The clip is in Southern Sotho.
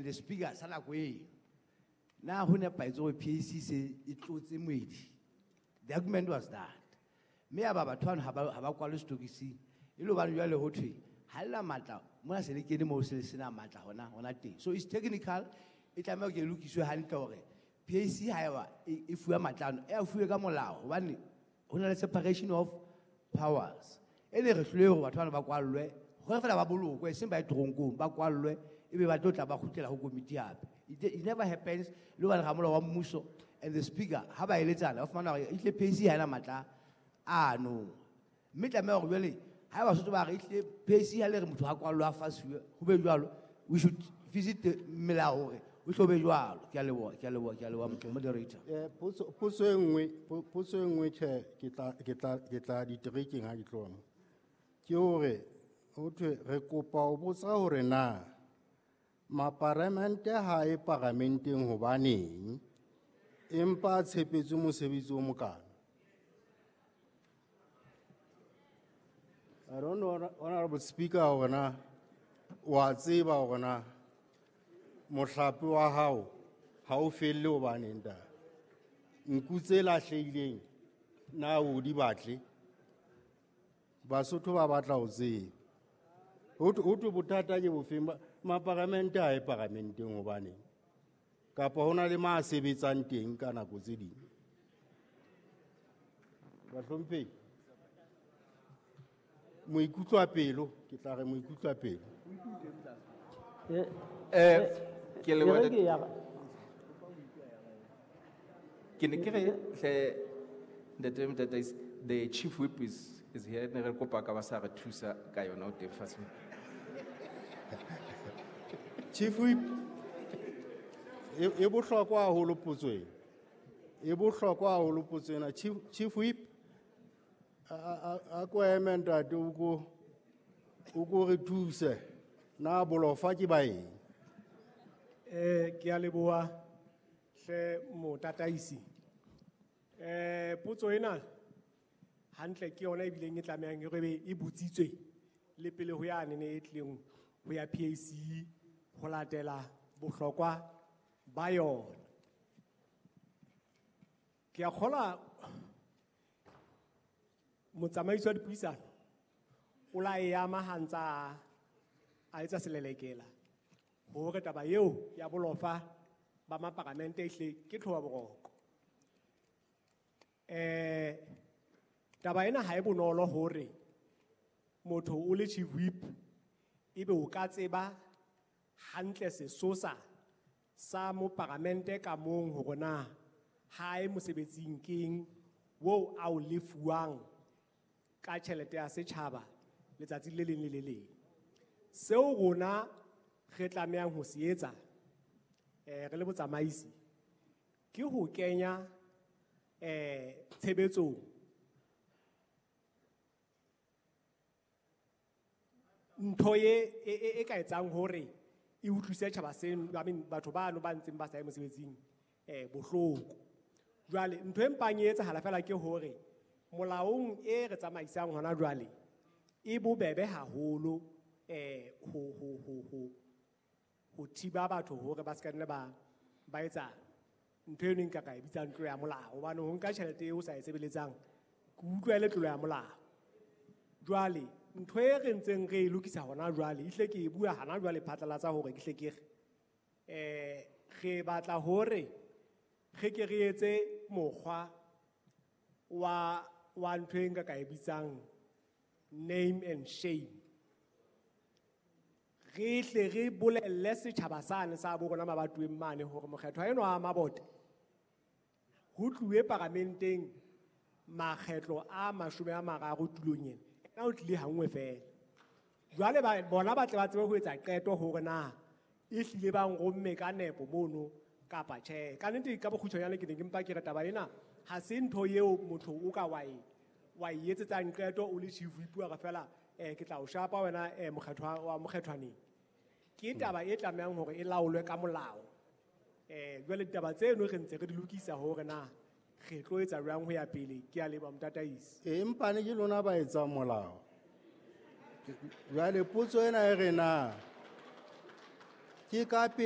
and the speaker sa nako eo na ho nepahetse hore PAC se e tlotse moedi. The argument was that mme ya ba batho bano ha ba kwalwe setokising e le hobane jwale ho thwe ha le na matla mona, se le kene moo se le sena matla hona teng. So it's technical, e tlameha ho ke e lokiswe hantle hore PAC haeba e fuwa matla ano, e a fuwe ka molao, hobane ho na le separation of powers. E ne re hlolehe hore batho bano ba kwallwe hore feela ba bolokwe, eseng ba ye toronkong, ba kwallwe ebe ba tlo tla ba kgutlela ho komiti hape. It never happens. Le hobane ramolao wa mmuso and the speaker ha ba eletsana ba fumana hore ehlile PAC ha ena matla ano, mme tlameha hore jwale ha eba Basotho ba re ehlile PAC ha le re motho ha kwallwe a fasuwe ho be jwalo, we should visit the melao hore o tlo be jwalo. Ke a leboha, ke a leboha, ke a leboha, moderator. Potso e nngwe, potso e nngwe, tjhe, ke tla diterekeng ha ke tloha mo. Ke hore ho thwe re kopa ho botsa hore na maparamente ha e paramenteng hobaneng empa a tshepetswe mosebetsi o mokana. I don't know, Honorable Speaker, hore na wa tseba hore na mohlape wa hao ha o felle hobaneng ta nku tse lahlehileng na o di batle. Basotho ba batla ho tseba. Ho thwe bothata ke bofeng, maparamente ha e paramenteng hobaneng, kapa ho na le ma sebetsang teng ka nako tse ding. Bahlomphehi, moikutlwa pelo, ke tla re moikutlwa pelo. Ke leboha E re ke ya- Ke ne ke re hle ntate Motataisi, the chief whip is here, ne re kopa ka ba sa re thusa ka yona o teng fatshe. Chief whip, e bohlokwa haholo potso ena. E bohlokwa haholo potso ena. Chief whip, a ko eme ntate, o ko re thuse. Na bolofa ke ba eng? Ke a leboha hle motataisi. Potso ena hantle ke yona ebileng e tlamehang e re be e botsitswe le pele ho yane ne e tlileng ho ya PAC ho latela bohlokwa ba yona. Ke a kgolwa motsamaisi wa dipuisano o la e ama ha ntsa a etsa selelekela hore taba eo ya bolofa ba maparamente ehle ke tlhoba boroko. Taba ena ha e bonolo hore motho o le chief whip ebe o ka tseba hantle sesosa sa moparamente ka mong hore na ha e mosebetsing keng wo a o lefuwang ka tjhelete ya setjhaba letsatsi le leng le le leng. Seo rona re tlamehang ho se etsa re le botsamaisi ke ho kenya tshebetsong ntho e ka etsang hore e utlwise tjhaba seno, I mean, batho bano ba ntseng ba sa ye mosebetsing bohloko. Jwale ntho e mpang e etsahala fela ke hore molaong e re tsamaisang hona jwale e bobebe haholo ho thiba batho hore ba ska nne ba etsa ntho eno e nka ka e bitsang tlolo ya molao, hobane ho nka tjhelete eo o sa e sebeletsang ke utlwa e le tlolo ya molao. Jwale ntho e re ntseng re e lokisa hona jwale, ehlile ke e bua hana jwale phatlalatsa hore ke hle ke re, re batla hore re ke re etse mokgwa wa ntho e nka ka e bitsang name and shame. Re hle re bolelle setjhaba sane sa bo rona mabatoweng mane hore mokgethwa enwa wa Mabote ho tluwe paramenteng makgetlo a 30 tulong ena, ena o tlile ha nngwe fela. Jwale bona ba tle ba tsebe ho etsa qeto hore na ehlile ba nromme ka nepo mono kapa tjhe. Ka nnete ka bokgutshwanyane ke ne ke mpa ke re taba ena ha se ntho eo motho o ka wa e etsetsang qeto o le chief whip wa re fela, ke tla o shapa wena, mokgethwa wa mokgethwaneng. Ke taba e tlamehang hore e laolwe ka molao. Jwale ditaba tseno re ntse re di lokisa hore na re tlo etsa jwang ho ya pele. Ke a leboha motataisi. Empa ne ke lona ba etsang molao. Jwale potso ena e re na ke ka pele